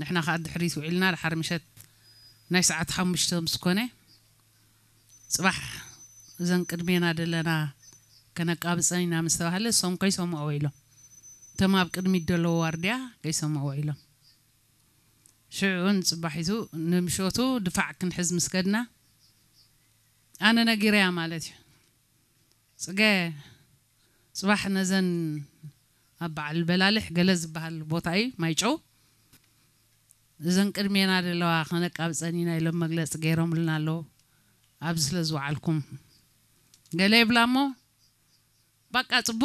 ንሕና ከዓ ድሕሪት ውዒልና ድሓር ምሸት ናይ ሰዓት ሓሙሽተ ምስ ኮነ፣ ፅባሕ እዘን ቅድሜና ደለና ከነቃብፀን ኢና ምስ ተባህለ፣ እሶም ከይሰምዕዎ ኢሎም፣ እቶም ኣብ ቅድሚት ደለዉ ዋርድያ ከይሰምዕዎ ኢሎም። ሽዑ ንፅባሒቱ ንምሸቱ ድፋዕ ክንሕዝ ምስ ከድና፣ ኣነ ነጊረያ ማለት እዩ። ፅገ፣ ፅባሕ ነዘን ኣብ በዓል በላልሕ ገለ ዝበሃል ቦታ እዩ ማይጨው፣ እዘን ቅድሜና ዘለዋ ከነቃብፀን ኢና ኢሎም መግለፂ ገይሮምልና ኣለዉ። ኣብዚ ስለ ዝወዓልኩም ገለ ይብላ እሞ፣ ባቃ ፅቡቅ